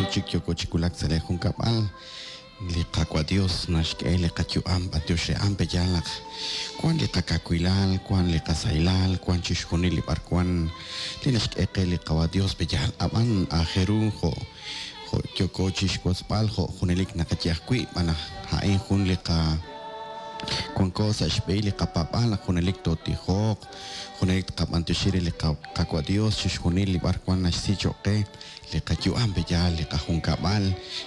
Wi'chik yooko chi wulak sa' lee junkab'al. Li Qaawa' Dios naxk'e li qayu'am b'antiox re a'an pe'yaal naq wan li qakawilal, wan li qasahilal, wan chixjunil li b'arwan li naxk'e qe li Qawa' Dios pe'yaal. Ab'an aajel ru jo' jo' yooko chixwotzb'al jo' junelik naqaye ajwi' b'an naq a'in jun li qa wanko sa' xb'ehil li qapaab'aal naq junelik tootijoq, junelik tqab'antioxi re li Qaawa' Dios chixjunil li b'arwan naxsi choq' qe. Li qayu'am pe'yaal, li qajunkab'al,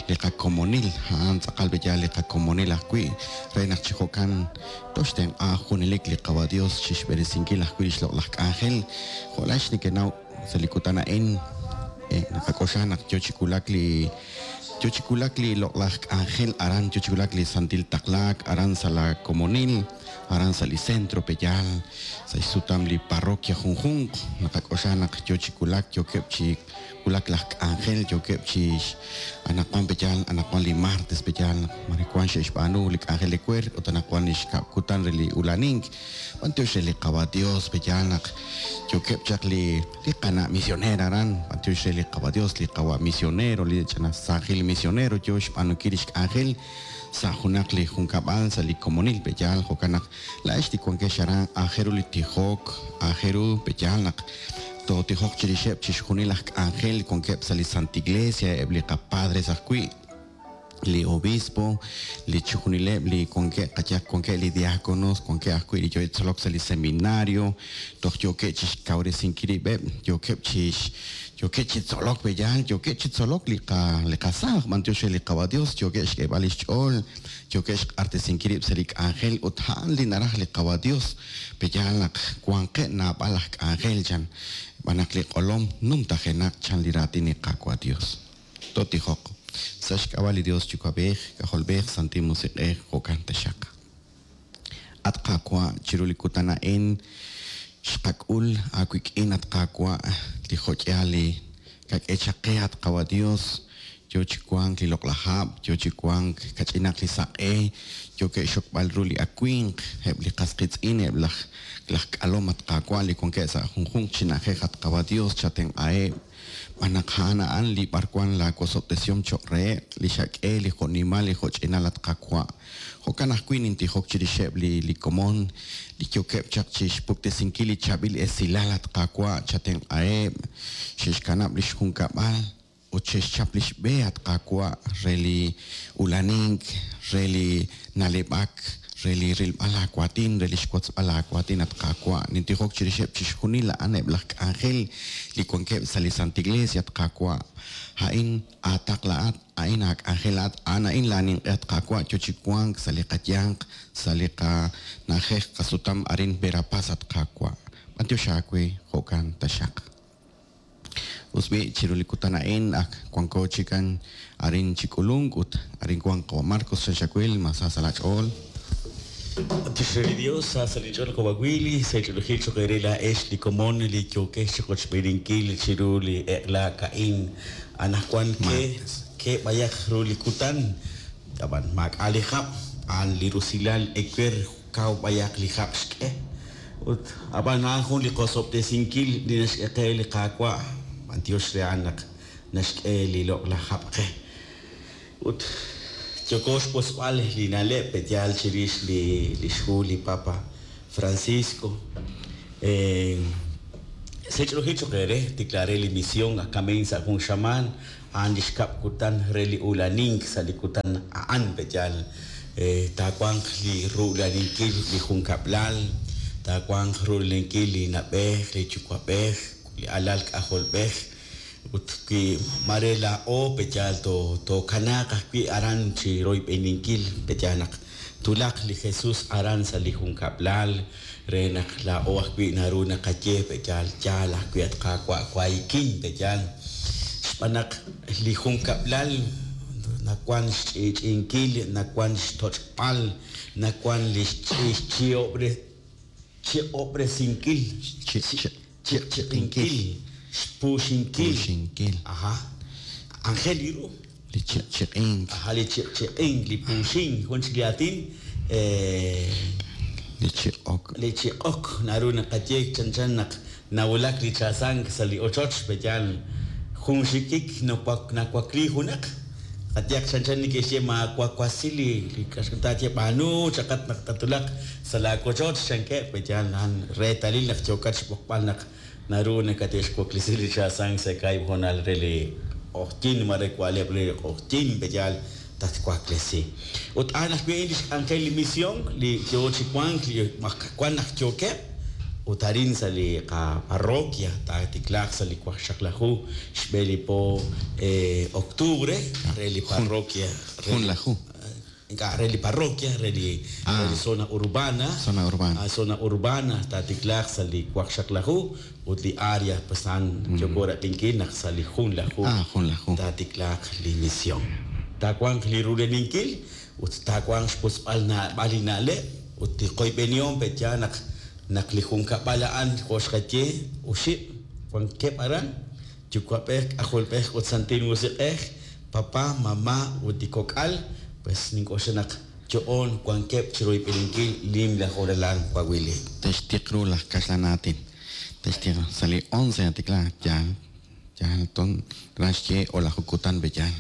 li qakomonil, a'an tz'aqal pe'yaal li qakomonil ajwi', re naq chi jo'kan toxtenq'a junelik li Qawa' Dios chixb'eresinkil ajwi' lix loq'laj k'anjel. Jo' laa'ex nekenaw sa' li kutan a'in, naqak'oxla naq yoo chi wulak li yoo chi wulak li loq'laj k'anjel aran, yoo chi wulak li santil taqlaak aran sa' la komonil, aran sa' li centro pe'yaal, sa' xsutam li parroquia junjunq, naqak'oxla naq yoo chi wulak, yookeb' chi wulak laj k'anjel yookeb' chi anaqwan pe'yaal anaqwan li martes pe'yaal naq mare wan xe'xb'aanu li k'anjel ewer ut anaqwan li xkab' kutan re li ulanink. B'antiox re li Qawa' Dios pe'yaal naq yookeb' chaq li li qana' misionera aran, b'antiox re li Qawa' Dios li qawa' misionero li ch'ina saajil misionero yoo xb'aanunkil lix k'anjel sa' junaq li junkab'al sa' li komonil pe'yaal. Jo'kan naq laa'ex li wankex aran aajel ru li tijok, aajel ru pe'yaal naq Tootijoq chirixeb' chixjunil aj k'anjel wankeb' sa' li Santa Iglesia, eb' li qapadres ajwi', li obispo, li chixjunileb' li wankeb' qayehaq wankeb' li diaconos, wankeb' ajwi' li yookeb' chi tzolok sa' li seminario, toj yookeb' chixkawresinkil rib'eb', yookeb' chix yookeb' chi tzolok pe'yaal, yookeb' chi tzolok li qa li qasaaj, b'antiox re li Qawa' Dios, yookeb' xk'eeb'al lix ch'ool, yookeb' xq'artesinkil rib' sa' li k'anjel ut a'an li naraj li Qawa' Dios. Pe'yaal naq wanqeb' naab'al aj k'anjel chan, xb'aan naq li q'olom numtajenaq chan li raatin li Qaawa' Dios. Tootijoq. Sa' xk'ab'a' li Dios Yuwa'b'ej, K'ajolb'ej, Santil Musiq'ej, jo'kan taxaq. At Qaawa', chiru li kutan a'in xqak'ul aawik'in, at Qaawa', li jo'k'ihal li kak'e chaq qe, at Qawa' Dios, Yoo chi wank li loq'laj hab', yoo chi wank kach'inaq li saq'e, yookeb' xxokb'al ru li awimq, eb' li qas qiitz'in, eb' laj laj k'alom, at Qaawa', li wankeb' sa' junjunq chi na'ajej, at Qawa' Dios, chatenq'aheb', xb'aan naq a'an a'an li b'arwan laa wosob'tesihom choq' reheb', li xak'e, li jo'nimal, li jo'ch'inal, at Qaawa'. Jo'kan ajwi' nintijok chirixeb' li li komon li yookeb' chaq chixpuktesinkil li chaab'il esilal, at Qaawa', chatenq'aheb', xe'xkanab' lix junkab'al, Ut xe'xchap lix b'e, at Qaawa', re li ulanink, re li na'leb'ak, re li rilb'al aawaatin, re li xwotzb'al aawaatin, at Qaawa'. Nintijok chirixeb' chixjunil a'an eb' laj k'anjel li wankeb' sa' li Santa Iglesia, at Qaawa'. A'in aataql laa'at, a'in aak'anjel laa'at, a'an a'in laa ninq'e, at Qaawa', yo chi wank sa' li qayanq, sa' li qana'ajej qasutam arin Verapaz, at Qaawa'. B'antiox aawe, jo'kan taxaq. Us b'i', chiru li kutan a'in ak wanko chikan arin chi k'ulunk ut arin wank qawa' Marcos chan xawil, ma sa sa' laach'ool? B'antiox re li Dios, sa sa' linch'ool qawa' Willy, sa' ch'oolejil cho'q eere laa'ex li komon li yookex chi qochb'eeninkil chiru li eq'la ka'in. Anaqwan ke ke b'ayaq ru li kutan, ab'an maak'a' li hab', a'an li rusilal ewer kaw b'ayaq li hab' xk'e. Ut ab'an a'an jun li qosob'tesinkil li naxk'e qe li Qaawa', b'antiox re a'an naq naxk'e li loq'laj hab' qe. Ut yooko xwotzb'al li na'leb' pe'yaal chirix li lix hu li Papa Francisco. Sech'ruhil choq' eere, tikla re li mision akamein sa' jun xamaan, a'an li xkab' kutan re li ulanink sa' li kutan a'an pe'yaal taawanq li ru'laninkil li junkab'lal, taawanq ru'laninkil li na'b'ej, li yuwa'b'ej, li alal k'ajolb'ej, ut wi mare laa'o pe'yaal tookanaaq ajwi' aran chi royb'eninkil pe'yaal naq twulaq li Jesus aran sa' li junkab'lal re naq laa'o ajwi' naru naqaye pe'yaal yaal ajwi' at Qaawa' wahikin pe'yaal xb'aan naq li junkab'lal nawan xch'i'ch'i'inkil, nawan xtoch'b'al, nawan li xchi'ob'resinkil, chiq'chiq'inkil, xpuuxinkil, aja, anjel li ru. Li chiq'chiq'ink. Aja, li chiq'chiq'ink, li puuxink, jun chik li aatin. Li chiq'ok. Li chiq'ok, naru naqaye chanchan naq nawulak li chaasank sa' li ochoch, pe'yaal. Jun xikik nawakli junaq, qayehaq chanchan neke'xye maawakwasi li taaye b'aanu chaqat naq tatwulaq sa' laawochoch chankeb', pe'yaal a'an reetalil naq yookat xb'oqb'al naq naru nakate'xwaklesi li chaasank sa' kaahib' hoonal re li q'oqyink mare wa'leb' re li q'oqyink pe'yaal tatwaklesi. Ut a'an ajwi' a'in li xk'anjel li mision li yoo chi wank li wan naq yookeb' ut arin sa' li qaparroquia taatiklaaq sa' li waqxaqlaju xb'e li po octubre re li parroquia Junlaju. Ink'a' re li parroquia re li re li zona urbana. Zona urbana. Zona urbana taatiklaaq sa' li waqxaqlaju ut li área pues a'an yooko rab'inkil naq sa' li junlaju Junlaju. taatiklaaq li mision. Taawanq li ruleninkil ut taawanq xwotzb'al naab'al li na'leb' ut li qoyb'enihom pe'yaal naq naq li junkab'al a'an jo' xqaye oxib' wankeb' aran yuwa'b'ej k'ajolb'ej ut santil musiq'ej papá, mamá ut li kok'al pues nink'oxla naq yo'on wankeb' chiroyb'eninkil nimla hoonal wawili. Te'xtiq ru laj kaxlan aatin. Te'xtiq ru. Sa' li 11 natiklaak yaal yaal ton naxye o'laju kutan pe'yaal.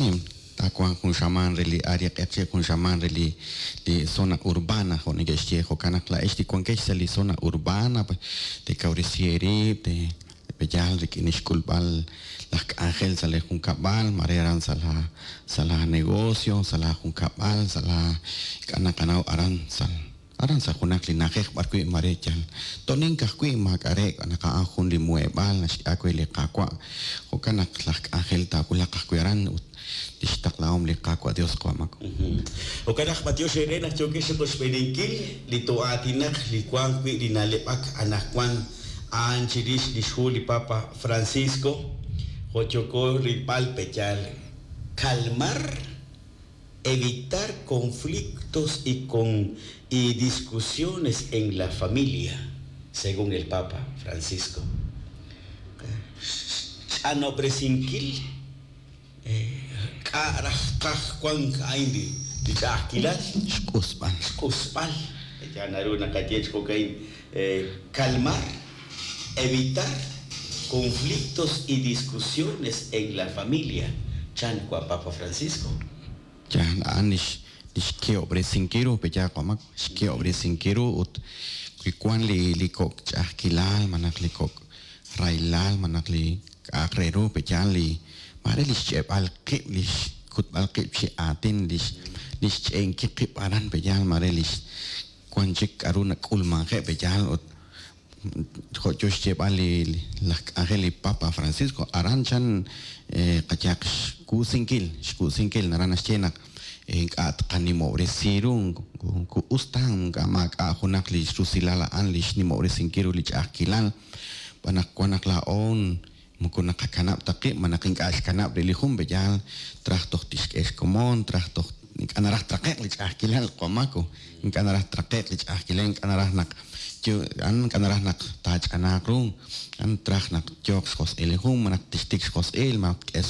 Nim taawanq jun xamaan re li área q'eqchi' jun xamaan re li li zona urbana jo' neke'xye jo'kan naq laa'ex li wankex sa' li zona urbana teekawresi eerib' te pe'yaal rik'in xk'ulb'al laj k'anjel sa' li junkab'al mare aran sa' la sa' la negocio sa' la junkab'al sa' la ink'a' naqanaw aran sa' aran sa' junaq li na'ajej b'ar wi' mare yal to'nink ajwi' maak'a' re naq a'an jun li muheb'aal naxk'e aawe li Qaawa' jo'kan naq laj k'anjel taawulaq ajwi' aran ut lix taqlahom li Qaawa' Dios qamako. Jo'kan naq b'antiox eere naq yookex chiqoxb'eeninkil li to'aatinaq li wank wi' li na'leb'ak anaqwan a'an chirix li xhu li Papa Francisco jo' yooko rilb'al pe'yaal calmar, evitar conflictos y con y discusiones en la familia, según el Papa Francisco. Xch'anob'resinkil k'a' raj qaj wank a'in li li ch'a'ajkilal Xq'usb'al. xq'usb'al ya naru naqaye chi jo'ka'in calmar, evitar conflictos y discusiones en la familia, chan wa Papa Francisco. Yaal a'an lix lix ke'ob'resinkil ru pe'yaal qamak xke'ob'resinkil ru ut wi wan li li kok' ch'a'ajkilal malaj li kok' rahilal malaj li k'a'aq re ru pe'yaal li mare li xch'e'b'al qib' li xkutb'al qib' chi aatin lix lix ch'e'enkil qib' aran pe'yaal mare lix wan chik k'a'ru nak'ulmanje' pe'yaal ut jo' yo xyeeb'al li laj k'anjel li Papa Francisco aran chan qayehaq xkusinkil xkusinkil naran naxye naq ink'a' tqanimob'resi ru ku us ta ink'a' maak'a' junaq li rusilal a'an li xnimob'resinkil ru li ch'a'ajkilal b'an naq wan naq laa'o moko naqakanab' ta qib' malaj ink'a' xkanab' rib' li jun pe'yaal traj toj tixk'e xkomon traj toj ink'a' naraj traqe'q li ch'a'ajkilal qamako ink'a' naraj traqe'q li ch'a'ajkilal ink'a' naraj naq yo a'an ink'a' naraj naq taach'anaaq ru a'an traj naq yooq xjosq'il li jun malaj tixtik xjosq'il malaj tk'e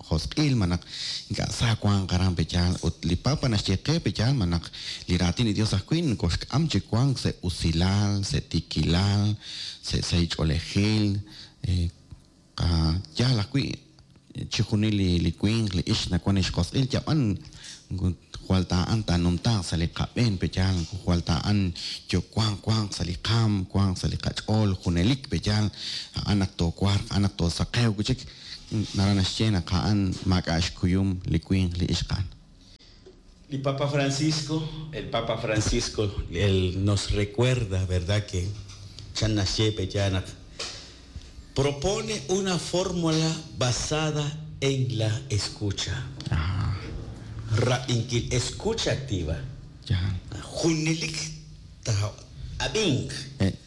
xjosq'il malaj ink'a' sa wanq aran pe'yaal ut li Papa naxye qe pe'yaal malaj li raatin li Dios ajwi' nokoxk'am chi wank sa' usilal sa' tiikilal sa' sahil ch'oolejil yaal ajwi' chixjunil li li winq li ixq nawan xjosq'il yab'an jwal ta'an taanumtaaq sa' li qab'een pe'yaal jwal ta'an yo wanq wanq sa' li qaam wanq sa' li qach'ool junelik pe'yaal a'an naq toowarq a'an naq toosaqew wi' chik naran naxye naq a'an maak'a' xkuyum li winq li ixq a'an. Li Papa Francisco, el Papa Francisco, él nos recuerda, ¿verdad?, que chan naxye pe'yaal naq propone una fórmula basada en la escucha. Rab'inkil, escucha activa. Yaal. Junelik ab'ink.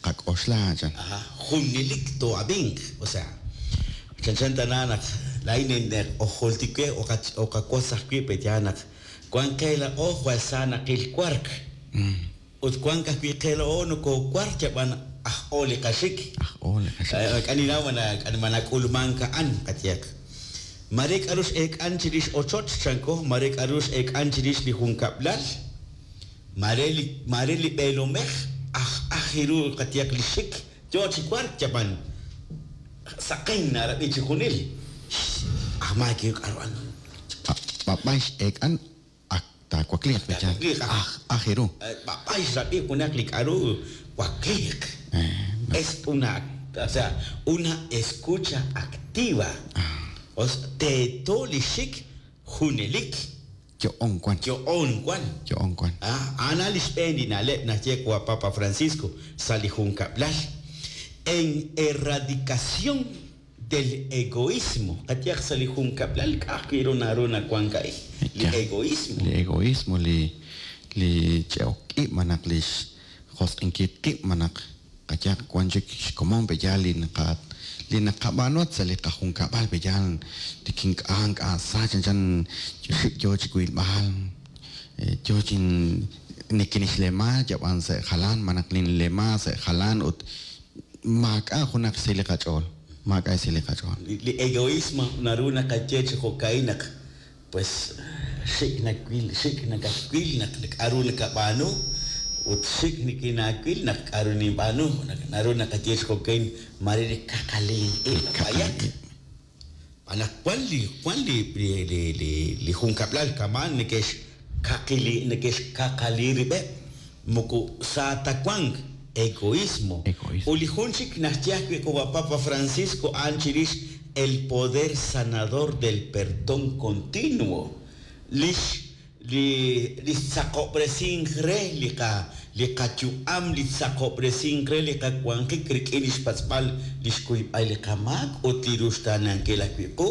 Qak'oxla chan. Ajá, junelik to'ab'ink. O sea, chanchan tana naq laa'in ojoltike oqawas ajwi' pe'yaal naq wan qe la'o jwal sa naqil wark. Ut wan ajwi' qe la'o nokowark yab'an aj o li qaxik. Aj o li qaxik. K'aninaw manak'ulmank a'an qayehaq. Mare k'a'ru x'eek'an chirix ochoch chanko, mare k'a'ru x'eek'an chirix li junkab'lal, mare li mare li b'eelomej aj ajiru qayehaq li xik yo chi wark yab'an saqen narab'i chi junil. Na'ajmank k'aru a'an. B'ab'ay x'eek'an ak taawakliiq peyal. Aj aj ru. B'ab'ay xrab'i junaq li k'aru wakliiq. Es una, o sea, una escucha activa. Teeto li xik junelik. Yo'on wan. Yo'on wan. Yo'on wan. A'an li xb'een li na'leb' naxye wa Papa Francisco sa' li junkab'lal. En erradicación del egoísmo. Qayehaq sa' li junkab'lal k'a'aj wi' ru naru nawank a'in. Li egoísmo. Li egoísmo, li ch'e'ok ib' malaj li xjosq'inkil qib' malaj qayehaq wan chik xkomon peyal li naqa li naqab'aanu sa' li qajunkab'al peyal tikink'a nk'a sa chanchan xik yo chi wilb'al yo chi nikinixlema yab'an sa' jalan malaj ninlema sa' jalan ut maak'a' junaq xsahil li qach'ool. Maak'a' xsahil li qach'ool. Li egoísmo naru naqaye chi jo'ka'in naq pues xik nawil xik nakatwil naq k'aru nakab'aanu ut xik nikinaawil naq k'aru ninb'aanu. Naru naqaye chi jo'ka'in mare li kaqalin ib' b'ayaq. Malaj wan li wan li li li li junkab'lal kama'an neke'xkaqili neke'xkaqali rib'eb' moko sa ta wank egoísmo. Egoísmo. Ut li jun chik naxye ajwi' qawa' Papa Francisco a'an chirix el poder sanador del perdón continuo. Lix li li xtzaqob'resink re li qa li qayu'am li tzaqob'resink re li qawanjik rik'in li xpatz'b'al li xkuyb'al li qamaak ut li ruxtaanankil ajwi' qu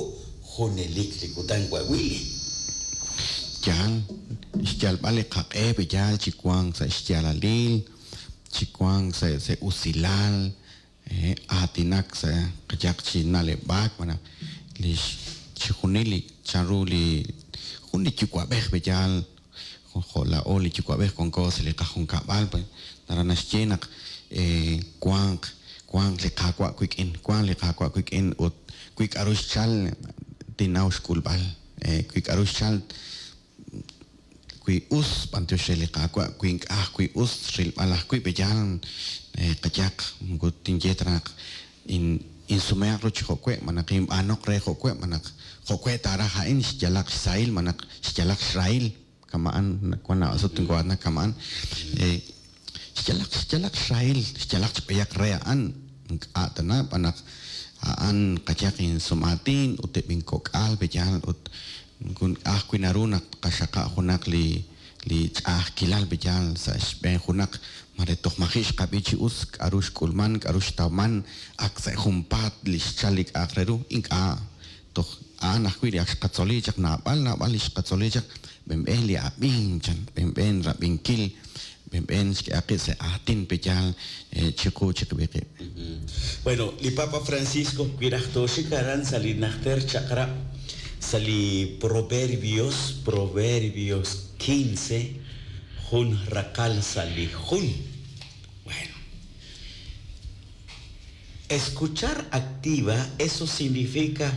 junelik li kutan wa' Willy. Yaal, xyalb'al li qaq'e peyal chi wank sa' xyaalalil, chi wank sa' sa' usilal, aatinak sa' qayehaq chi na'leb'ak malaj li chixjunil li chanru li jun li yuwa'b'ej peyal jo' laa'o li yuwa'b'ej wanko sa' li qajunkab'al naraj naxye naq wanq wanq li Qaawa' wik'in, wanq li Qaawa' wik'in ut wi k'aru xchal tinnaw xk'ulb'al, wi k'aru xchal wi us b'antiox re li Qaawa' wi ink'a' ajwi' us rilb'al ajwi' peyal qayehaq moko tinye ta naq insumehaq ru chi jo'we' malaj inb'aanoq re jo'we' malaj jo'we' taaraj a'in xyalaq xsahil malaj xyalaq xrahil kama'an wan naab'al sut tinko'aatinak kama'an xyalaq xyalaq xrahil xyalaq chib'ayaq re a'an ink'a' tana b'an naq a'an qayehaq insum'aatin ut eb' inkok'al peyal ut ajwi' naru naq qaxaqa' junaq li li ch'a'ajkilal peyal sa' xb'een junaq mare toj maji' xqab'i chi us k'aru xk'ulman k'aru xtawman ak sa' junpaat li xchal li k'a'aq re ru ink'a' toj a'an ajwi' li ak xqatzoli chaq naab'al naab'al li xqatzoli chaq b'enb'en li ab'ink chan b'enb'en rab'inkil b'enb'en xk'ehaq qib' sa' aatin peyal chiqu chiqib'il qib'. Bueno, li Papa Francisco wiraj tooxik aran sa' li najter chaq'rab' sa' li Proverbios, Proverbios 15, jun raqal sa' li jun. Bueno. Escuchar activa, eso significa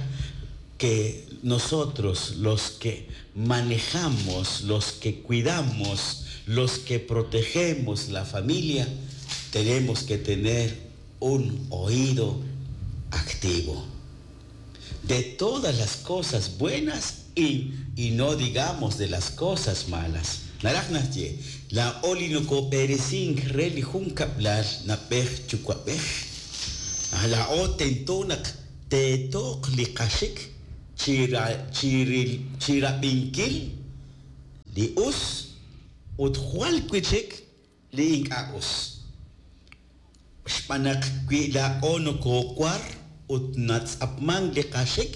que nosotros, los que manejamos, los que cuidamos, los que protegemos la familia, tenemos que tener un oído activo. De todas las cosas buenas y no digamos de las cosas malas. Naraj naxye, la oli nokob'eresink re li junkab'lal nab'ej yuwa'b'ej. Laa'o tento naq teetoq li qaxik chirab'inkil li us ut jwal wi' chik li ink'a' us. Xb'aan naq wi laa'o nokoowar ut natz'apmank li qaxik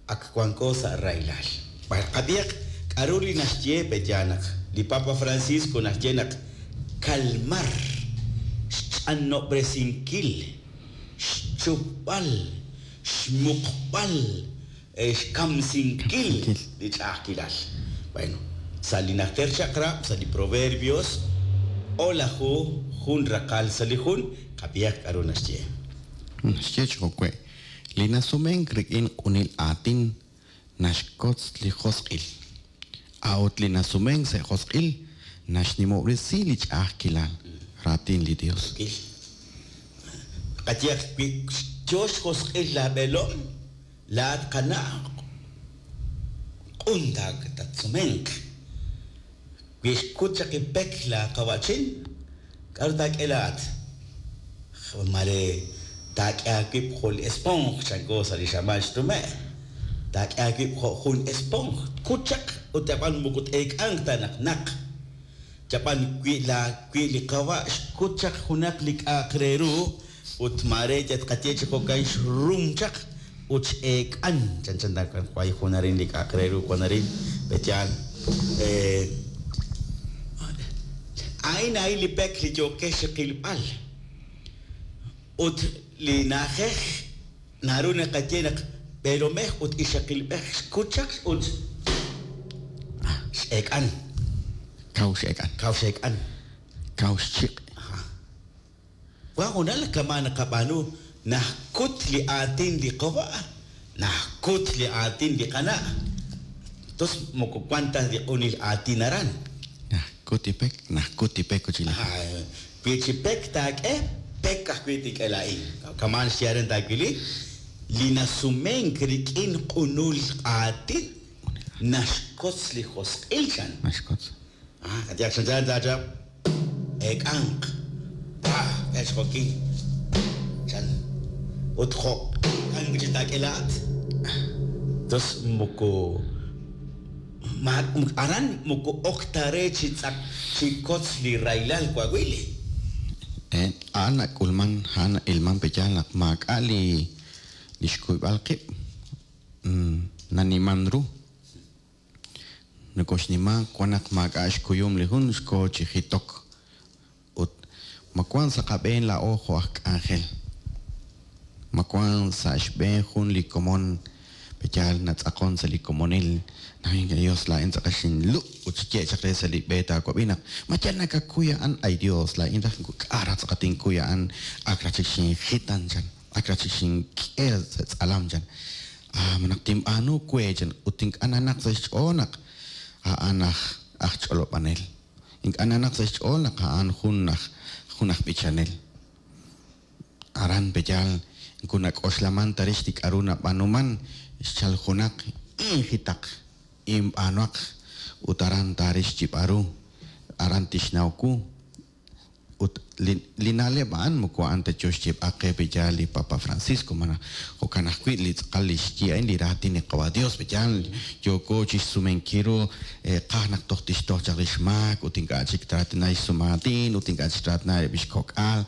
ak wanko sa' rahilal. Qab'ihaq k'aru li naxye peya naq li Papa Francisco naxye naq kalmar xch'anob'resinkil, xchupb'al, xmuqb'al, xkamsinkil li ch'a'ajkilal. Bueno, sa' li najter chaq'rab', sa' li Proverbios, o'laju jun raqal sa' li jun, qab'ihaq k'aru naxye. Naxye chi jo'we', li nasumenk rik'in q'unil aatin naxkotz li josq'il. A'ut li nasumenk sa' josq'il naxnimob'resi li ch'a'ajkilal raatin li Dios. Qayehaq wi yo xjosq'il laab'eelom, laa'at qana' Q'un tatsumenq. Wi xkut chaq li pek laaqawa'chin, k'aru taak'e laa'at? Mare taak'e aawib' jo' li esponj, chanko sa' li xamaan xnume'. Taak'e aawib' jo' jun esponj, tkut chaq ut ab'an moko t-eek'anq ta naq naq. Ab'an wi la wi li qawa' xkut chaq junaq li k'a'aq re ru ut mare yal tqaye chi jo'kan xrum chaq ut x'eek'an, chanchan ta way jun arin li k'a'aq re ru wan arin, pe'yaal. A'in a'in li pek li yookex chi qilb'al. Ut li na'ajej naru naqaye naq b'eelomej ut ixaqilb'ej xkut chaq ut x'eek'an. Kaw x'eek'an. Kaw x'eek'an. Kaw xchiq'. Wan hoonal kama' naqab'aanu najkut li aatin li qawa', najkut li aatin li qana'. Tos moko wan ta li q'unil aatin aran. Najkut li pek, najkut li pek ut chi laj. Wi chi pek taak'e, pek ajwi' tink'e laa'in. Kama'an xye aran taawili, li nasumenk rik'in q'unul aatin naxkotz li josq'il chan. Naxkotz. Qayehaq chanchan taachap eek'anq, pah, k'e xjokin chan. Ut jo'kan wi' chik taak'e laa'at. Tos moko ma aran moko ok ta re chi tz'aq chi kotz li rahilal wawili. A'an nak'ulman, a'an na'ilman pe yaal naq maak'a' li li xkuyb'al qib' naniman ru. Nokoxnima wan naq maak'a' xkuyum li jun xko chi jitok ut ma wan sa' qab'een laa'o jo' aj k'anjel, ma wan sa' xb'een jun li komon pe'yaal natz'aqon sa' li komonil naq ink'a' Dios laa'in tz'aqal xinlub' ut xye chaq re sa' li b'e taawab'i naq ma yal nakakuy a'an ay Dios laa'in raj k'a' raj tz'aqal tinkuy a'an ak raj chik xinjitan chan. Ak raj chik xink'e sa' tz'alam chan. Ah, ma naq tinb'aanu we chan ut ink'a' nanaq sa' xch'ool naq a'an aj aj ch'olob'anel. Ink'a' nanaq sa' xch'ool naq a'an jun aj jun aj b'ichanel. Aran pe'yaal moko nak'oxlaman ta rix li k'a'ru nab'aanuman, xchal junaq injitaq, inb'aanuhaq ut aran taaril xyib'al ru, aran tixnaw wu. Ut li li na'leb' a'an moko a'an ta yo xyeeb'al qe pe'yaal li Papa Francisco, malaj jo'kan ajwi' li tz'aqal li xye a'in li raatin li Qawa' Dios pe'yaal yooko chixsumenkil ru qaj naq toj tixtoj chaq li xmaak ut ink'a' chik traatina li xsumaatin ut ink'a' chik traatina eb' li xkok'al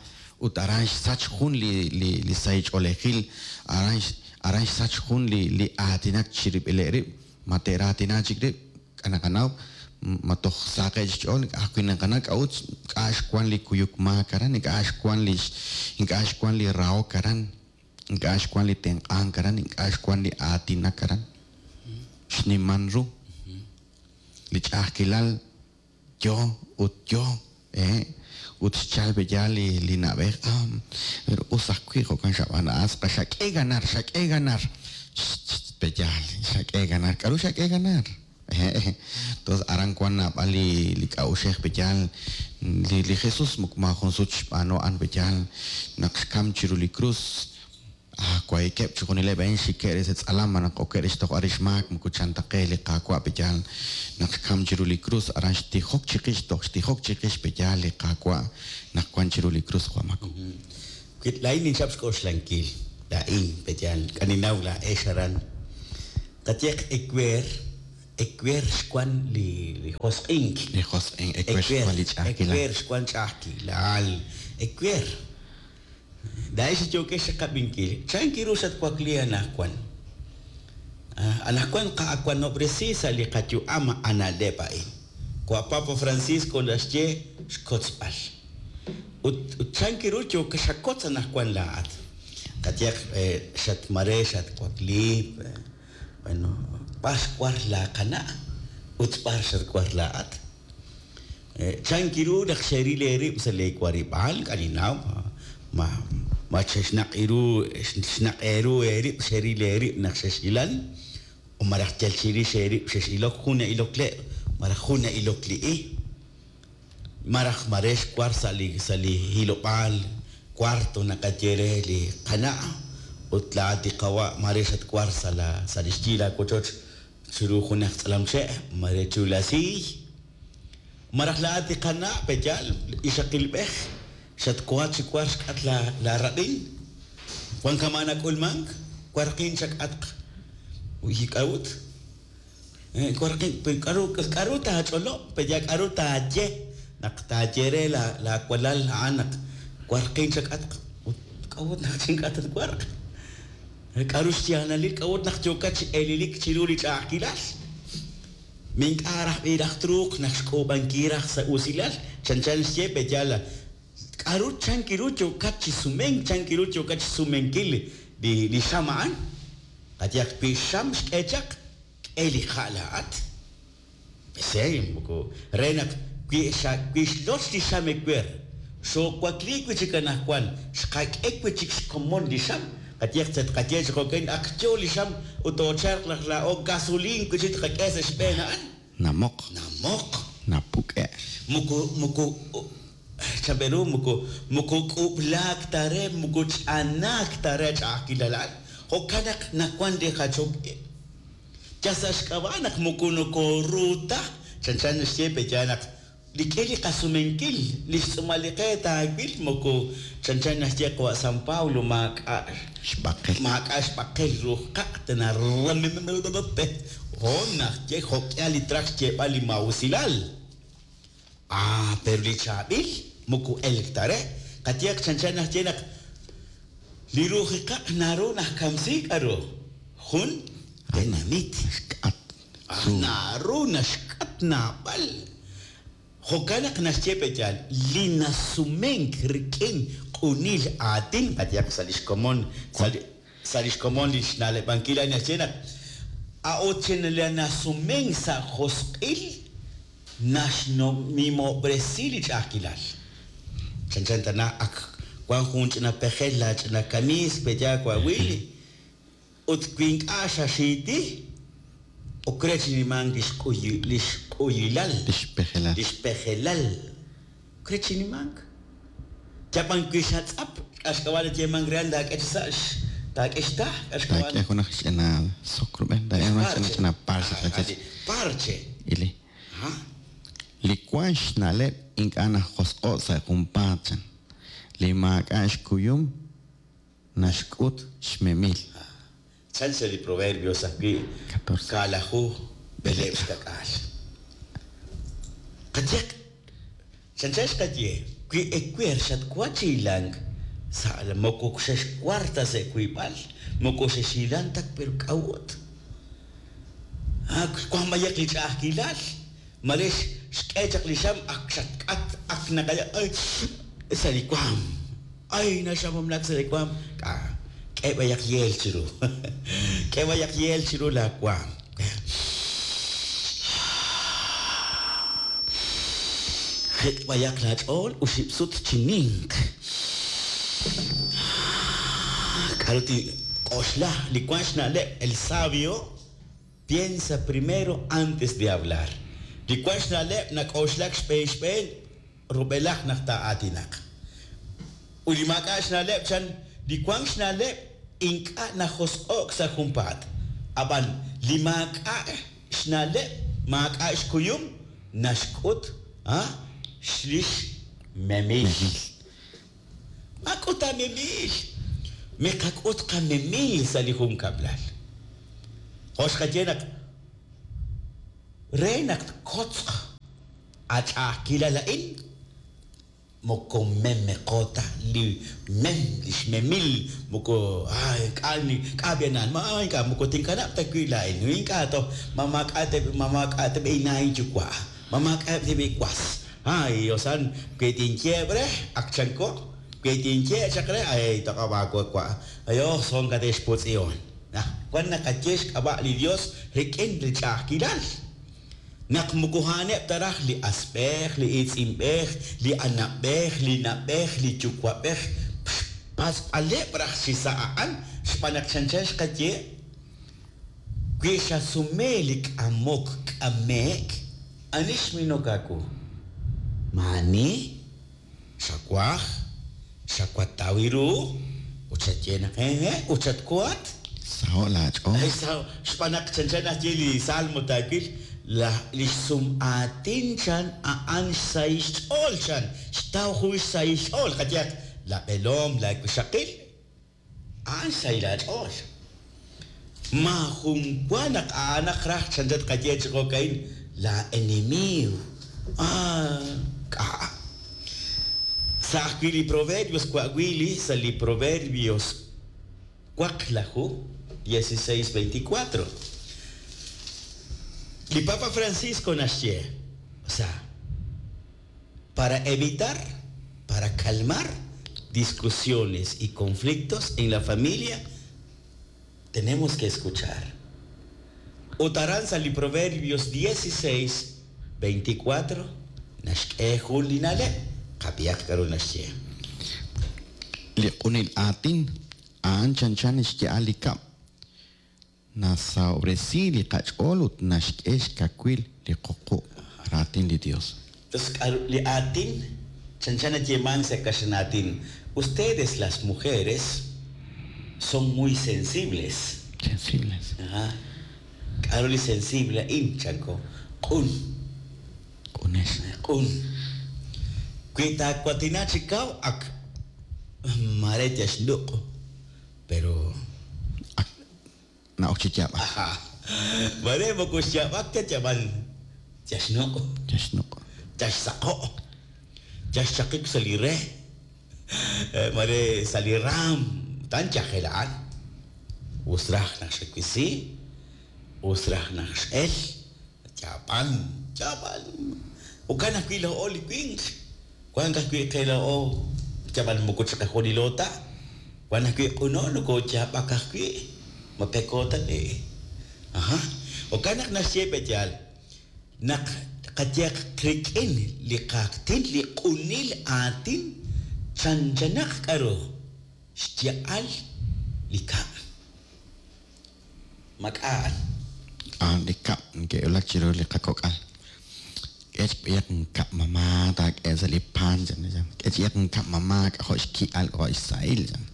ut aran xsach jun li li li sahil ch'oolejil, aran aran xsach jun li li aatinak chirib'ileb' rib', ma te'raatina chik rib'? K'a' naqanaw ma toj saqeb' xch'ool, ink'a' ajwi' naqanaw k'a'ut ink'a' xwank li kuyuk maak aran, ink'a' xwank li ink'a' xwank li rahok aran, ink'a' xwank li tenq'ank aran, ink'a' xwank li aatinak aran. Xniman ru li ch'a'ajkilal yo ut yo, eh, ut xchal pe'yaal li li na'b'ej, ah, pero us ajwi' jo'kan xab'aan a'an tz'aqal xak'e ganar, xak'e ganar, pe'yaal, xak'e ganar, k'a'ru xak'e ganar? Entonces aran wan naab'al li li k'a'uxej pe'yaal, li li Jesús moko maajun sut xb'aanu a'an pe'yaal naq xkam chiru li krus, Ah, wahi'keb' chixjunileb' a'in xikeb' re sa' tz'alam malaj okeb' re xtojb'al rix maak, moko chan ta qe li Qaawa' pe'yaal naq xkam chiru li krus, aran xtijok chiqix, toj xtijok chiqix pe'yaal li Qaawa' naq wan chiru li krus, Juan Mako. Wi laa'in ninchap xk'oxlankil, laa'in, pe'yaal, k'a ninnaw laa'ex aran, qayehaq ewer, ewer xwan li li josq'ink. Li josq'ink, ewer xwan li ch'a'ajkilal. Ewer xwan ch'a'ajkilal, ewer. Laa'ex li yookex chiqab'inkil, chan ru xatwakli anaqwan? Anaqwan qa'awanob'resi sa' li qayu'am a na'leb' a'in. Jo' Papa Francisco naxye xkotzb'al. Ut chan ru yook xakotz anaqwan laa'at? Qayehaq xatmare xatwakli, bueno, b'ar xwar laaqana' ut b'ar xatwar laa'at? Chan ru naq xeril eerib' sa' leewarib'aal? Ink'a' ninnaw ma ma xexnaq' ru xnaq' eeru eerib' xeril eerib' naq xexhilan o malaj yal chirix eerib' xex'ilok, jun na'ilok le' malaj jun na'ilok li i, malaj mare xwar sa' li sa' li hilob'aal cuarto naqaye re li qana' ut laa'at li qawa' mare xatwar sa' la sa' li xyi laawochoch. Chiru junaq tz'alamche' mare chiru la siiy. Maraj laa'at li qana' pe'yaal ixaqilb'ej xatwank chi war xk'atq laarab'in. Wank kama' nak'ulmank warqin chak'atq. K'a'ut? Warqin k'aru k'aru taach'olob' pe'yaal k'aru taaye naq taaye re laawalal a'an naq warqin chak'atq ut k'a'ut naq chink'atq tatwarq? K'aru xyaalalil k'a'ut naq yookat chi elelik chiru li ch'a'ajkilal? Ma ink'a' raj b'i raj truuq naq xk'uub'ankil raj sa' usilal? Chanchan xye pe'yaal k'aru chank ru yookat chi sumenk, chank ru yookat chi sumenkil li xam a'an? Qayehaq wi xam xk'e chaq, k'e li ha' laa'at. Pese moko re naq wi xa wi xloch li xam ewer, xoowakliik wi' chik anaqwan, xqak'e wi' chik xkomon li xam, qayehaq tqaye chi jo'kan ak yo li xam ut toochalq raj laa'o gasoliin wi' chik tqak'e sa' xb'een a'an. Namoq. Namoq. Napuk'e'. Moko moko chan pe ru moko moko k'ub'laak ta re moko ch'anaak ta re ch'a'ajkilal a'an, jo'kan naq nawank li jachok ib'. Yal sa' xk'ab'a' naq moko nokooru ta, chanchan naxye pe'yaal naq rik'in li qasumenkil li xtz'uumal li qe taawil moko chanchan naxye qawa' San Pablo maak'a' Xb'aqel. Maak'a' xb'aqel ruuj qaq' hoon naxye jo'k'ihal li traj xyeeb'al li maa'usilal. Ah, pero li chaab'il moko elk ta re. Qayehaq chanchan naxye naq li ruuj qaq' naru najkamsi k'aru jun tenamit. Naxk'at. Naru naxk'at naab'al. Jo'kan naq naxye pe'yaal li nasumenk rik'in q'unil aatin qayehaq sa' li xkomon sa' li xkomon li xna'leb'ankil a'in naxye naq a'ut chi li nasumenk sa' josq'il naxnimob'resi li ch'a'ajkilal. Chanchan tana ak wank jun ch'ina pejel laach'ina kamiis pe'yaal wawil ut wi ink'a' xaxiiti ok re chi nimank li xq'uyilal. Li xpejelal. Li xpejelal. Ok re chi nimank. Yab'an wi xatz'ap k'a' xk'ab'a' nayeemank re taak'e chi sa' taak'e xta' k'a' xk'ab'a'. Taak'e junaq ch'ina sok rub'el, taak'e junaq ch'ina parche. Parche. Ili. Li wank xna'leb' ink'a' najosq'o' sa' junpaat chan. Li maak'a' xkuyum naxk'ut xmemil. Chan sa' li Proverbios ajwi' 14. Kaalaju b'eleeb' xka'k'aal. Qayehaq chanchan xqaye wi ewer xatwank chi hilank sa' moko xexwar ta sa' wiib'al, moko xexhilank ta pero k'a'ut. Wank b'ayaq li ch'a'ajkilal mare xk'e chaq li xam ak xatk'at ak naqaya ay sa' li waam ay naxamamlak sa' li waam k'a k'e b'ayaq yeel chiru k'e b'ayaq yeel chiru laawaam. Jit' b'ayaq laach'ool oxib' sut chi ninq. K'aru tink'oxla li wank xna'leb' el sabio piensa primero antes de hablar. Li wank xna'leb' nak'oxlak xb'een xb'een rub'elaj naq taa'aatinaq. Ut li maak'a' xna'leb' chan li wank xna'leb' ink'a' najosq'o'k sa' junpaat. Ab'an li maak'a' xna'leb' maak'a' xkuyum naxk'ut li xmemil. Maak'ut aamemil. Miqak'ut qamemil sa' li junkab'lal. Jo' xqaye naq re naq tkotzq ach'a'ajkilal a'in moko memeqo ta li mem li xmemil moko ay k'a k'a b'ianan ma ink'a' moko tinkanab' ta wi' laa'in ink'a' toj ma maak'a' ma maak'a' ta b'i inna' inyuwa' ma maak'a' ta b'i was ay osan wi tinyeeb' re ak chanko wi tinye chaq re ay toq'ob' aawe wa' ayo son kate'xputz'iyon. Wan naqaye xk'ab'a' li Dios rik'in li ch'a'ajkilal. Naq moko a'aneb' ta raj li asb'ej, li iitz'inb'ej, li anab'ej, li na'b'ej, li yuwa'b'ej xpatz'b'aleb' raj chi sa' a'an xb'aan naq chanchan xqaye wi xasume li k'amok k'ame'k ani xminok aawu. Maani xawaj xawataw ru ut xaye naq hehe' ut xatkuhat. Saho'k laach'ool. Xb'aan naq chanchan naxye li Salmo taawil, li xsum'aatin chan a'an xsahil xch'ool chan, xtaw jun xsahil xch'ool. Qayehaq, laab'eelom, laawixaqil, a'an xsahil aach'ool. Maajun wa naq a'anaq raj chanchan tqaye chi jo'ka'in laa'enemiiw. K'a'. Sa' ajwi' li Proverbios wa'wi li sa' li Proverbios waqlaju, 16, 24. Li Papa Francisco naxye, o sea, para evitar, para calmar discusiones y conflictos en la familia, tenemos que escuchar. Ut aran sa' li Proverbios 16, 24, naxk'e jun li na'leb', qab'ihaq k'aru naxye. Li q'unil aatin a'an chanchan xya'al li kab', nasahob'resi li qach'ool ut naxk'e xkawil li qoqu'. Raatin li Dios. Entonces, k'aru li aatin chanchan nayeemank sa' kaxlan aatin, ustedes las mujeres son muy sensibles. Sensibles. Ajá. K'aru li sensible a'in, chanko? Q'un. Q'unex. Q'un. Wi taawatina chi kaw ak mare tyaxnuq', pero Ak na'ok chi yaab'ak. Ajá. Mare moko xyaab'ak ta yab'an tyaxnuq'. Tyaxnuq'. Tyaxsaqo'. Tyaxchaqik sa' li re. Mare sa' li raam tan yajel a'an. Us raj naq xwisi, us raj naq x'el, yaab'an, yaab'an. Jo'kan ajwi' laa'o li winq, wank ajwi' qe laa'o yab'an moko chiqajunilo ta, wank ajwi' q'uno nokooyaab'ak ajwi', ma peko ta b'i'. Ajá. Jo'kan naq naxye pe'yaal, naq qayehaq rik'in li qaatin, li q'unil aatin, chanchanaq k'aru xya'al li kab'. Mak'a'an. A'an li kab' neke'wulak chiru li qakok'al. K'e chb'iyaq nkab' mamá taak'e sa' li pan chan. K'e ch'iyaq nkab' mamá k'ajo' xki'al k'ajo' xsahil chan.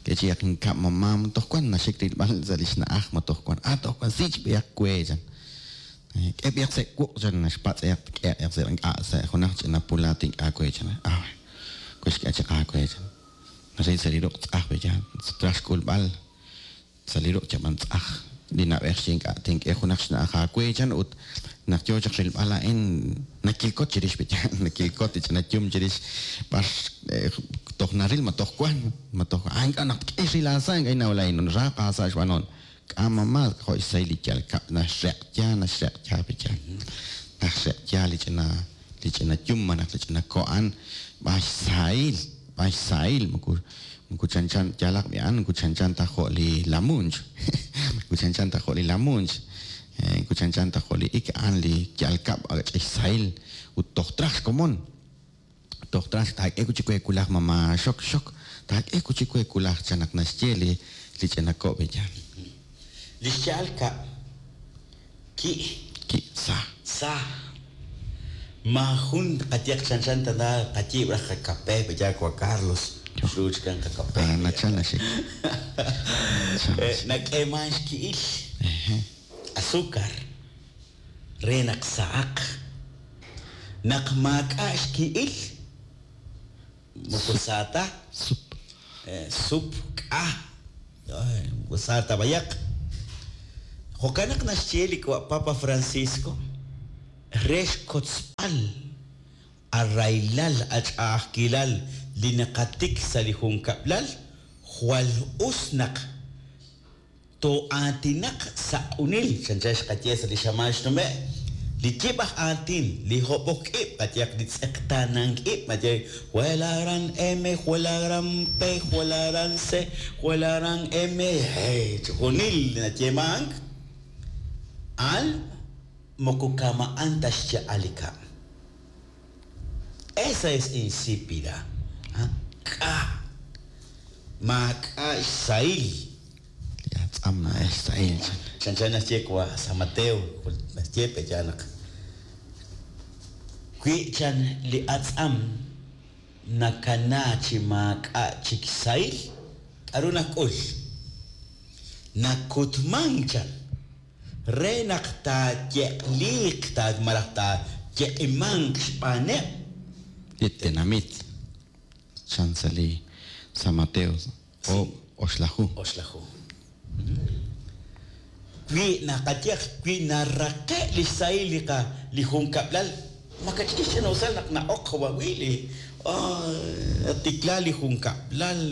K'e ch'iyaq nkab' mamá toj wan naxik rilb'al sa' li xna'aj ma toj wan. Ah, toj wan si chb'iyaq we chan. K'e b'iyaq sa' wuq' chan naxpatz'eyaq k'e sa' ink'a' sa' junaq ch'ina pulaat ink'a' we chan. Ah, we xk'e chaq aawe chan. Naril sa' li ruq' tz'aj be chan. Traj xk'ulb'al sa' li ruq' chab'an tz'aj. Li na'b'ej xye ink'a' tink'e junaq xna'aj aawe chan ut naq yoo chaq rilb'al a'in nakilkot chirix be chan. Nakilkot li ch'ina yum chirix b'ar toj naril ma toj wan, ma toj ah ink'a' naq tk'e xril aasa' ink'a' inawlain raaq aasa' xb'anoon. K'a mamá jo' xsahil li yal kab' naxreq'ya naxreq'ya be chan. Naxreq'ya li ch'ina li ch'ina yum malaj li ch'ina ko'an b'an xsahil, b'an xsahil moko moko chanchan yalaq b'i'an moko chanchan ta jo' li lamunch. Moko chanchan ta jo' li lamunch. Moko chanchan ta jo' li ik a'an li yal kab' ch'ixsahil ut toj traj xkomon. Toj traj taak'e chi we kulaj mamá xok xok taak'e chi we kulaj chan naq naxye li li ch'ina ko' be chan. Li xya'al kab' ki' Ki' sa. sa. Maajun qayehaq chanchan tana qayiib' raj qakape be ya Juan Carlos. Xruuch kan qakape. Ah, nachal naxik. Nak'eeman xki'il. Azúcar. Re naq sa'aq. Naq maak'a' xki'il. Moko saata. Sup. Sup k'a. Moko saata bayaq. Jo'kan naq naxye li Papa Francisco re xkotzb'al arraylal ach'a'ajkilal li naqatik sa' li junkab'lal jwal us naq too'aatinaq sa' q'unil chanchan xqaye sa' li xamaan xnume' li yib' aj aatin li hob'ok ib' qayehaq li tz'eqtaanank ib' maye jwelaran M jwelaran P jwelaran C jwelaran M hey chijunil nayeemank al moko kama'an ta xya'al li kab'. Esa es insípida. K'a. Maak'a' xsahil. Li atz'am na'ex xsahil chan. Chanchan naxye wa San Mateo naxye pe'yaal naq wi chan li atz'am nakana chi maak'a' chik xsahil k'aru nak'ul. Nakutmank chan re naq taayeq'liiq ta malaj taayeq'imanq xb'aaneb' li tenamit. Chan sa' li San Mateo oob' oxlaju. Oxlaju. Wi naqaye wi naraqe' li xsahil li qa li junkab'lal makach'in xch'ina'usal naq na'ok wawili natikla li junkab'lal.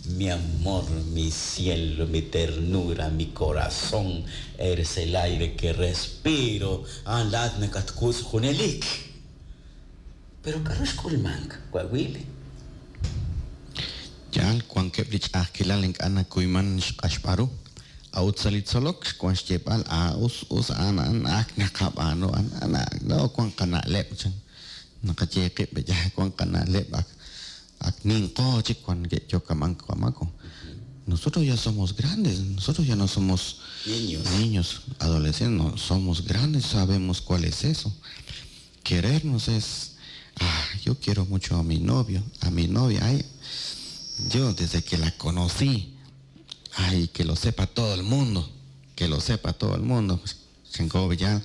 Mi amor, mi cielo, mi ternura, mi corazón, eres el aire que respiro. A'an laat nakatwutz' junelik. Pero k'aru xk'ulmank wawili? Yaal wankeb' li ch'a'ajkilal ink'a' nakuyman xq'axb'al ru. A'ut sa' li tzolok xwan xyeeb'al a us us a'an a'an ak naqab'aanu a'an no wan qana'leb' chan naqaye qib' ya wan qana'leb' ak ak ninqo chik wan ke'yokamank wamako. Nosotros ya somos grandes, nosotros ya no somos niños, niños, adolescentes, no, somos grandes, sabemos cuál es eso. Querernos es, ah, yo quiero mucho a mi novio, a mi novia, ay, yo desde que la conocí, ay, que lo sepa todo el mundo, que lo sepa todo el mundo. Chanko ya,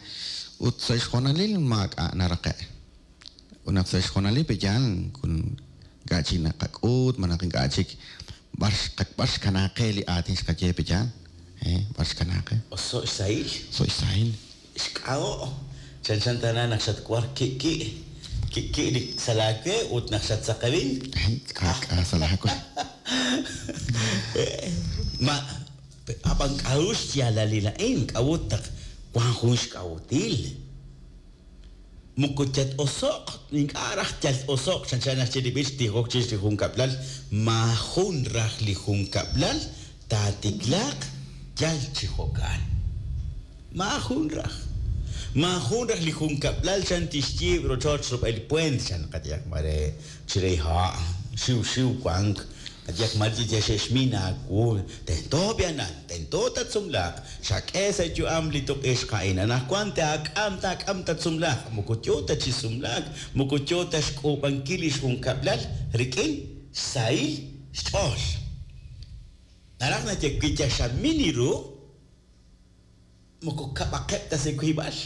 ut sa xjonalil maak'a' naraqe'. Unaq sa xjonalil b'iyal kun ink'a' chik naqak'ut malaj ink'a' chik b'ar b'ar xkanaaqe li aatin xqaye b'iyal, b'ar xkanaaqe. Oso' xsahil. So' xsahil. Xk'a'o'. Chanchan tana naq xatwar ki'ki' ki'ki' li sa' laawe ut naq xatsaqewin. K'a' sa' laawe. Ma ab'an k'a'ru xyaalalil a'in k'a'ut naq wan jun xk'a'util. Moko yat-oso'q ink'a' raj yal-oso'q chanchan naxye li b'ich tijok chirix li junkab'lal maajun raj li junkab'lal taatiklaaq yal chi jo'kan. Maajun raj. Maajun raj li junkab'lal chan tixyiib' rochoch rub'el puent chan qayehaq mare chire ha' xiw xiw wank qayehaq mare xe'xmin aawu tento b'ianan tento tatsumlaaq xak'e sa' yu'am li tuq'ixq a'in anaqwan taak'am taak'am tatsumlaaq moko yo ta chi sumlaak moko yo ta xk'uub'ankil li xjunkab'lal rik'in xsahil xch'ool. Naraj naxye wi yal xamin ru moko kab'aqeb' ta sa' wiib'al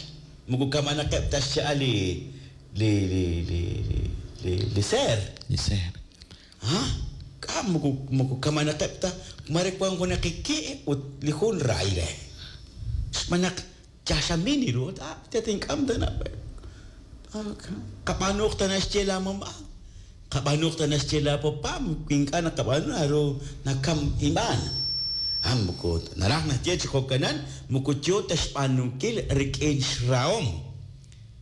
moko kamanaqeb' ta xcha'al li li li li li li seer. Li seer. Ha? K'a moko moko kamanaqeb' ta mare wan junaq ki' ut li jun raay re. Xb'aan naq yaxamin ru ah tatink'am tana. Qab'aanuq ta naxye la mamá. Qab'aanuq ta naxye la papá ink'a' naqab'aanu naru nakam inb'aan. Ah moko naraj naxye chi jo'kanan moko yo ta xb'aanunkil rik'in xrahom.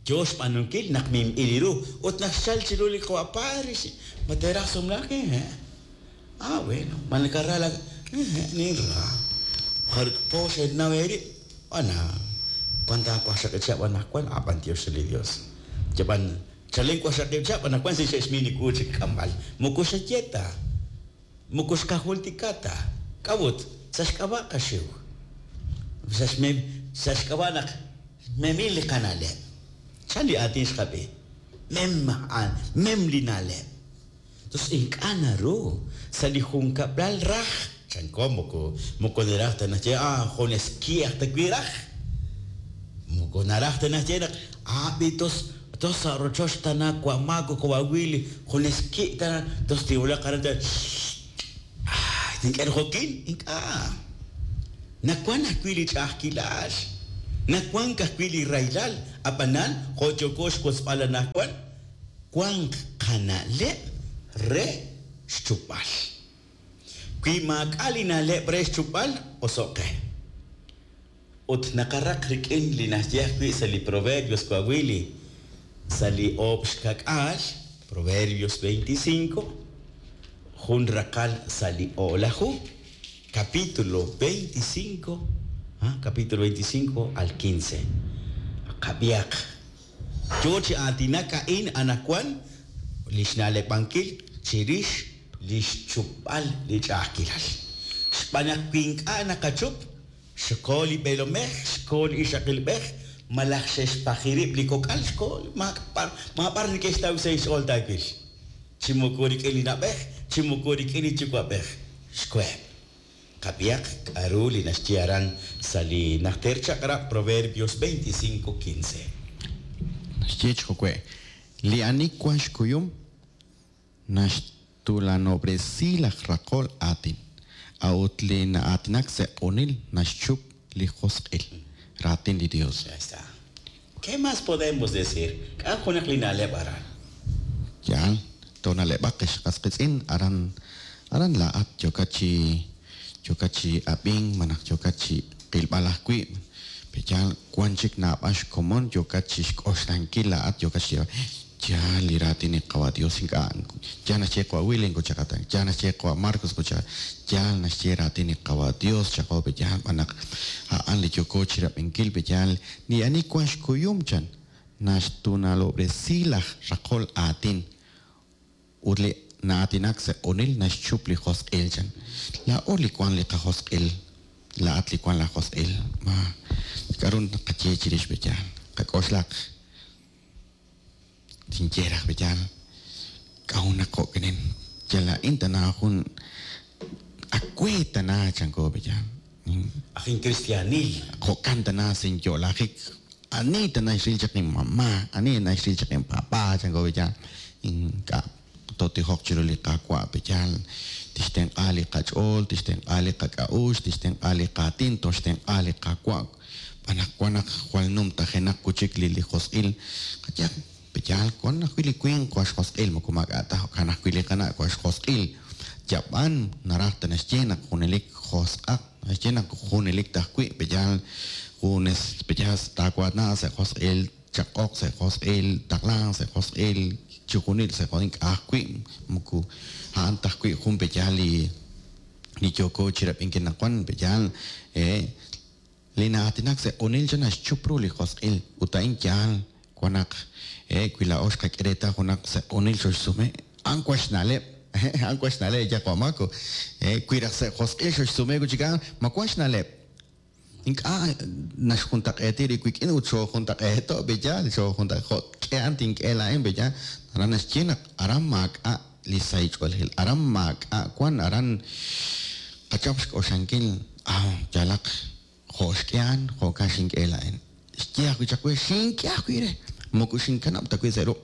Yo xb'aanunkil naq minb'il ru ut naq xchal chiru li qapadre ma teraj sumlaak eh. Ah bueno, man nakarra la ninra. Jar po xe'naweri ana cuanta waqxaqib' chihab' anaqwan ab'an Dios li Dios. Chaban chalen waqxaqib' chihab' anaqwan si xe'xmin li chik k'amb'al. Moko xayeta. Moko xqajultikata. K'awut sa xk'ab'a' qaxiw. Sa xmem sa xk'ab'a' naq memil li qana'leb'. Chan li aatin xqab'i. Mem a'an, mem li na'leb'. Entonces ink'a' naru sa' li junkab'lal raj chanko moko moko naraj ta naxye ah junes ki' aj ta wi raj. Moko naraj ta naxye naq ah b'i tos tos sa' rochoch tana wamako wawili junes ki' tana tos tiwulaq aran ta ah tink'e jo'kin ink'a'. Nawan ajwi' li ch'a'ajkilal. Nawan ajwi' li raylal ab'anan jo' yoko xwotzb'al anaqwan wank qana'leb' re xchupb'al. Wi maak'a' li na'leb' re xchupb'al oso'qe. Ut naqaraq rik'in li naxye ajwi' sa' li Proverbios wawili sa' li oob' xkak'aal Proverbios 25 jun raqal sa' li o'laju capítulo 25 ah, capítulo 25 al 15. Qab'iaq yo chi aatinak a'in anaqwan li xna'leb'ankil chirix li xchupb'al li ch'a'ajkilal. Xb'aan naq wi ink'a' naqachup xko li b'eelomej, xko li ixaqilb'ej, malaj xe'xpajirib' li kok'al xko maab'ar neke'xtaw sa' xch'ool taawil. Chi moko rik'in li na'b'ej, chi moko rik'in li yuwa'b'ej. Xkoheb'. Qab'ihaq k'a'ru li naxye aran sa' li Najter Chaq'rab' Proverbios 25:15. Naxye chi jo'we', Li ani wan xkuyum naxtuulanob'resi laj raqol aatin, a'ut li na'aatinak sa' q'unil naxchup li josq'il. Raatin li Dios. Ya está. ¿Qué más podemos decir? K'a' junaq li na'leb' aran. Yaal, toona'leb'aq ex qas qiitz'in aran aran laa'at yookat chi yookat chi ab'ink malaj yookat chi qilb'al ajwi'. Pe'yaal wan chik naab'al xkomon yookat chi xk'oxlankil laa'at yookat xyeeb'al yaal li raatin li Qawa' Dios ink'a' yaal naxye qawa' William kuchaqata yaal naxye qawa' Marcos kuchaqa yaal naxye raatin li Qawa' Dios chaqo pe'yaal b'an naq a'an li yooko chirab'inkil pe'yaal li ani wan xkuyum chan naxtunalob'resi laj raqol aatin ut li na'aatinak sa' q'unil naxchup li josq'il chan. Laa'o li wan li qajosq'il, laa'at li wan la josq'il. Ma k'a'ru naqaye chirix pe'yaal? Qak'oxlaq. Tinye raj pe'yaal k'a'ut naq jo'kinin yal laa'in tana jun ak we tana chanko pe'yaal. Aj inkristianil. Jo'kan tana sinyo'lajik ani tana xril chaq inmamá, ani tana xril chaq inpapá chanko pe'yaal. Ink'a' tootijoq chiru li Qaawa' pe'yaal tixtenq'a li qach'ool, tixtenq'a li qak'a'uxl, tixtenq'a li qaatin, toxtenq'a li Qaawa'. B'an naq wan naq jwal numtajenaq kuchik li li josq'il qayehaq pe'yaal wan ajwi' li winq wan xjosq'il moko maak'a' ta jo'kan ajwi' li qana' wan xjosq'il. Yab'an naraj ta naxye naq junelik josq'aq, naxye naq junelik ta ajwi' pe'yaal junes pe'yaal taawaatna sa' josq'il, chaq'oq sa' josq'il, taqlan sa' josq'il, chi junil sa' josq'il ink'a' ajwi' moko a'an ta ajwi' jun pe'yaal li li yooko chirab'inkil naq wan pe'yaal li na'aatinak sa' q'unil chan naxchup ru li josq'il ut a'in yaal wan naq wi laa'o xqak'e reetal junaq sa' q'unil xoxsume a'an wan xna'leb' a'an wan xna'leb' ya Wamako wi raj sa' josq'il xoxsume kuchik a'an ma wan xna'leb' ink'a' naxjuntaq'eeti rib' wik'in ut xoojuntaq'eeto' pe'yaal xoojuntaq jo' k'e a'an tink'e laa'in pe'yaal aran naxye naq aran maak'a' li sahil ch'oolejil aran maak'a' wan aran qachap xk'oxlankil aw yalaq jo' xk'e a'an jo'kan xink'e laa'in xye ajwi' chaq we xink'e ajwi' re moko xinkanab' ta wi' sa' ruq'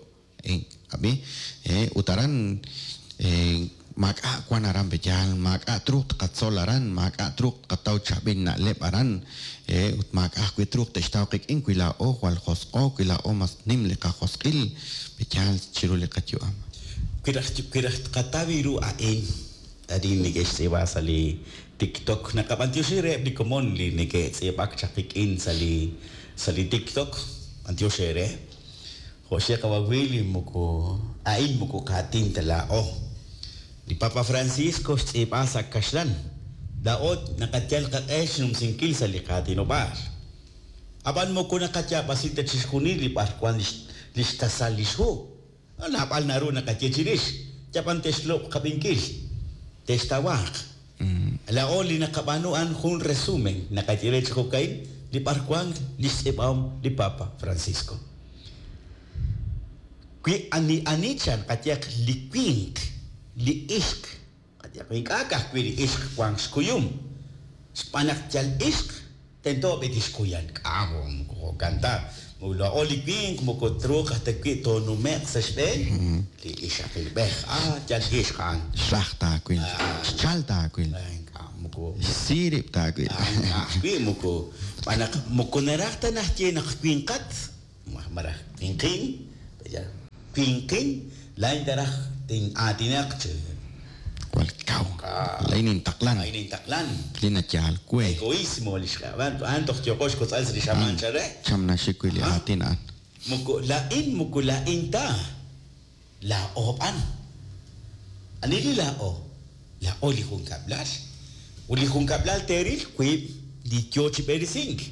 ab'i ut aran maak'a' wan aran pe'yaal maak'a' truuq tqatzol aran maak'a' truuq tqataw chaab'il na'leb' aran ut maak'a' ajwi' truuq te'xtaw qik'in wi laa'o jwal josq'o wi laa'o mas nim li qajosq'il pe'yaal chiru li qayu'am. Wi raj wi raj tqataw ru a'in arin neke'xtz'iib'a sa' li TikTok naqab'antioxi reheb' li komon li neke'tz'iib'ak chaq qik'in sa' li sa' li TikTok b'antiox eere jo' xye qawa' Willy moko a'in moko qaatin ta laa'o. Li Papa Francisco xtz'iib'a sa' kaxlan laa'o naqayal qaq'e xnumsinkil sa' li qaatinob'aal. Ab'an moko naqayaab'asi ta chixjunil li b'arwan li xtasal li xhu. Naab'al naru naqaye chirix, yab'an te'xloq' qab'inkil, te'xtawaaq. Laa'o li naqab'aanu a'an jun resumen naqaye re chi jo'ka'in li b'arwan li xtz'iib'ahom li Papa Francisco. Wi ani ani chan qayehaq li winq, li ixq, qayehaq ink'a' ka'ajwi' li ixq wanq xkuyum, xb'aan naq yal ixq tento b'i tixkuyan k'a' moko jo'kan ta. Laa'o li winq moko truuq aj ta wi' toonume'q sa' xb'een li ixaqilb'ej. Ah, yal ixq a'an. Xraj taawil, xchal taawil, Ink'a' moko xsi rib' taawil. Ajwi' moko b'an naq moko naraj ta naxye naq winqat malaj winqin winqin laa'in taraj tin'aatinaq chi Jwal kaw. Laa'in intaqlan. Laa'in intaqlan. Li nayaal we. Egoísmo li xk'ab'a' a'an toj yooqo xkotz'al sa' li xamaan chare. Cham naxik wi' li aatin a'an. Moko laa'in moko laa'in ta. Laa'o b'an. Ani li laa'o? Laa'o li junkab'lal. Ut li junkab'lal teeril wiib' li yoo chi b'eresink.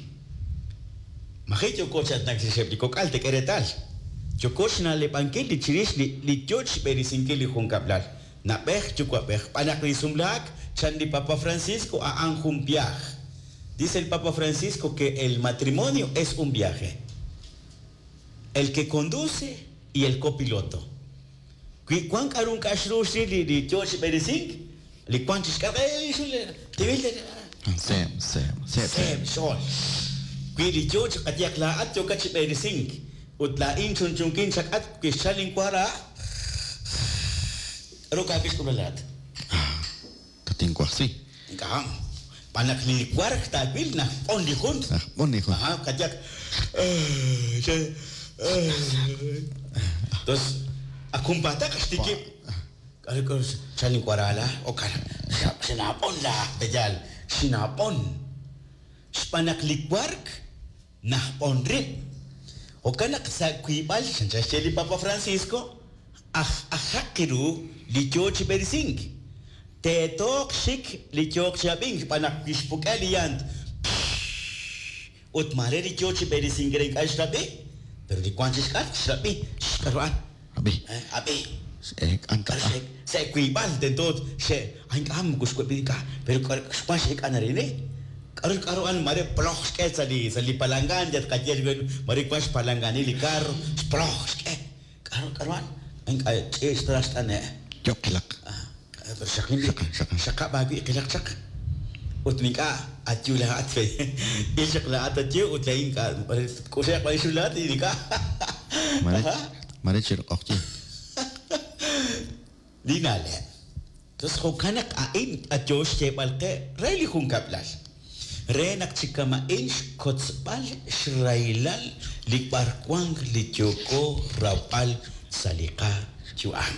Maji' yooko chi aatinak chirixeb' li kok'al tek'e reetal. Yooko xna'leb'ankil li chirix li li yoo chixb'eresinkil li junkab'lal. Na'b'ej yuwa'b'ej b'an naq li sumlaak chan li Papa Francisco a'an jun viaje. Dice el Papa Francisco que el matrimonio es un viaje. El que conduce y el copiloto. Wi wan k'a'ru ink'a' xru xril li li yoo chi b'eresink. Li wank chi xk'atq, ey xul tibil Seeb', seeb', seeb'. Seeb' xch'ool. Wi li yo chi qayehaq laa'at yookat chi b'eresink ut laa'in chunchunkin chak'atq wi xchalk linwara, k'aru kaawil xk'ulb'al laa'at? Tatinwajsi. Ink'a'. Xb'aan naq li wark taawil najb'on li jun. Najb'on li jun. Ajá, qayehaq. Tos, ak junpaataq xtikib'. K'aru k'aru xchalk linwara la? Okan, xinaab'on la, peyaal, xinaab'on. Xb'aan naq li wark najb'on rib'. Jo'kan naq sa' wiib'al xanchan xye li Papa Francisco, aj ajaq ru li yo chi b'eresink. Teetooq xik li yooq chi ab'ink xb'aan naq wi xpuk'e li lant ut maare li yo chi b'eresink re ink'a' xrab'i, pero li wank chi xk'atq xrab'i, xk'aru a'an? Ab'i. Ab'i. X'eek'an K'aru taq'a. xe'ek sa' wiib'al tento xe ay ink'a' moko xweb'i ink'a' pero k'aru xwan x'eek'an arin k'aru k'aru a'an maare ploj xk'e sa' li sa' li palangan yal tqaye maare wank xpalanganil li carro xploj xk'e k'aru k'aru a'an ink'a' ch'iich ta xt'ane' Yo'q qilaq. Pero xaqlin b'i Xaqan, xaqan. xaqab' aawi' qilaq chaq ut ink'a' atyu laa'at fe il chaq laa'at atyu ut laa'in ink'a' k'uxe'q b'an xul laa'at ink'a' Mare, mare chiru q'oqyink. Li na'leb'. Entonces jo'kan naq a'in ayo xyeeb'al qe re li junkab'lal. Re naq chi kama'in xkotzb'al xrahilal li b'arwank li yooko rawb'al sa' li qayu'am.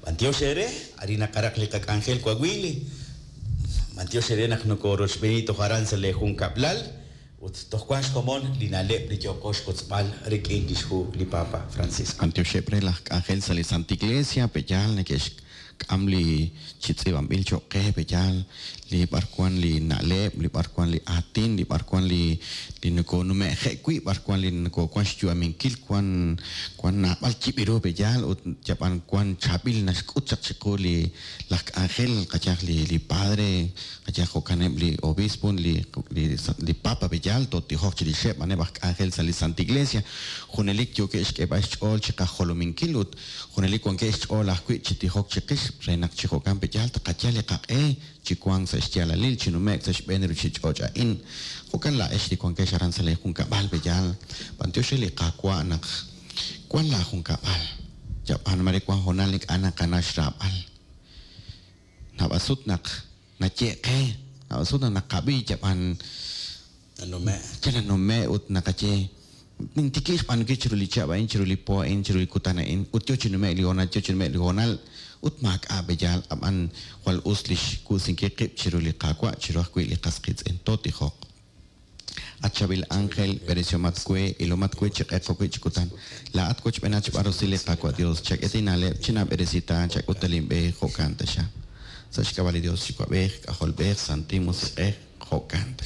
B'antiox eere, arin naqaraq li qak'anjel wawili. B'antiox eere naq nokorochb'eeni toj aran sa' li junkab'lal ut toj wank xkomon li na'leb' li yooko xkotzb'al rik'in lix hu li Papa Francisco. B'antioxeb' re laj k'anjel sa' li Santa Iglesia, peyaal neke'xk'am li chi tz'iib'anb'il cho'q qe, peyaal li b'arwan li na'leb', li b'arwan li aatin, li b'arwan li li nokonume'je' wi', b'arwan li nokowan xyu'aminkil, wan wan naab'al yib'iru peyaal ut yab'an wan chaab'il naxk'ut chaq chiqu li laj k'anjel qayaj li li padre, qayaj jo'kaneb' li obispo, li li li papa peyaal tootijoq chirixeb' a'aneb' aj k'anjel sa' li Santa Iglesia. Junelik yookeb' xk'eeb'al xch'ool chiqajolominkil ut junelik wankeb' xch'ool ajwi' chi tijok chiqix re naq chi jo'kan peyaal taqayal li qaq'e chi wank sa' xyaalalil chi nume'k sa' xb'een ruchich'och' a'in. Jo'kan laa'ex li wankex aran sa' li junkab'al peyaal. B'antiox re li Qaawa' naq wan laa junkab'al. Yab'an mare wan hoonal ink'a' naqana xraab'al. Naab'al sut naq naye' qe, naab'al sut naq naqab'i yab'an Nanume'. yal nanume' ut naqaye nintikib' xb'aanunkil chiru li chihab' a'in, chiru li po a'in, chiru li kutan a'in, ut yo chi nume'k li hoonal, yo chi nume'k li hoonal, ut maak'a' peyaal ab'an jwal us li xkuusinkil qib' chiru li Qaawa', chiru ajwi' li qas qiitz'in. Tootijoq. At chaab'il ángel, b'eresihomat we, ilomat we chi q'eq jo'wi' chi kutan. Laa'at wochb'eenat xb'aan rusil li Qaawa' Dios, chak'e na'leb', chinab'eresita, chak'ut linb'e, jo'kan taxa. Sa' xk'ab'a' li Dios Yuwa'b'ej, K'ajolb'ej, Santil Musiq'ej, jo'kan taxa.